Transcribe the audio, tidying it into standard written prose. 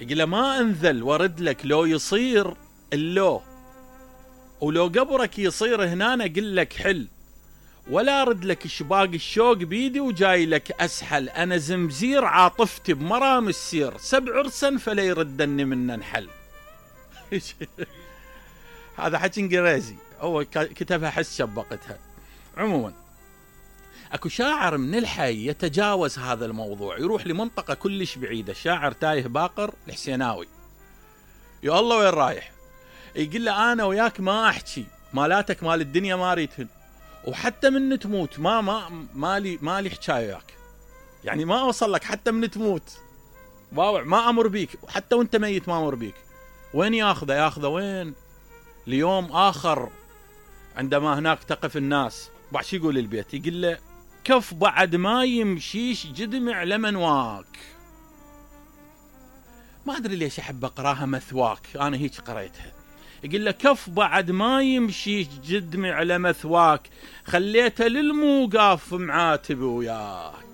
يقول له ما انذل ورد لك لو يصير اللو، ولو قبرك يصير هنا اقول لك حل، ولا ارد لك شباق الشوق بيدي وجاي لك اسحل، انا زمزير عاطفتي بمرام السير، 7 عرسا فلا يردني من انحل. هذا حكي انجليزي، هو كتبها حس شبقتها. عموما اكو شاعر من الحي يتجاوز هذا الموضوع، يروح لمنطقة كلش بعيدة، شاعر تايه باقر الحسيناوي. يا الله وين رايح؟ يقول له انا وياك ما احكي، مالاتك مال الدنيا ما ريتهن، وحتى من تموت مالي حكايه وياك، يعني ما اوصل لك حتى من تموت، ما امر بيك، وحتى وانت ميت ما امر بيك. وين ياخذه وين؟ ليوم اخر عندما هناك تقف الناس. بعد شو يقول البيت؟ يقول له كف بعد ما يمشيش جدمع لمنواك. ما ادري ليش احب اقراها مثواك، انا هيك قريتها. يقول له كف بعد ما يمشيش جدمع لمثواك، خليته للموقاف معاتب وياك.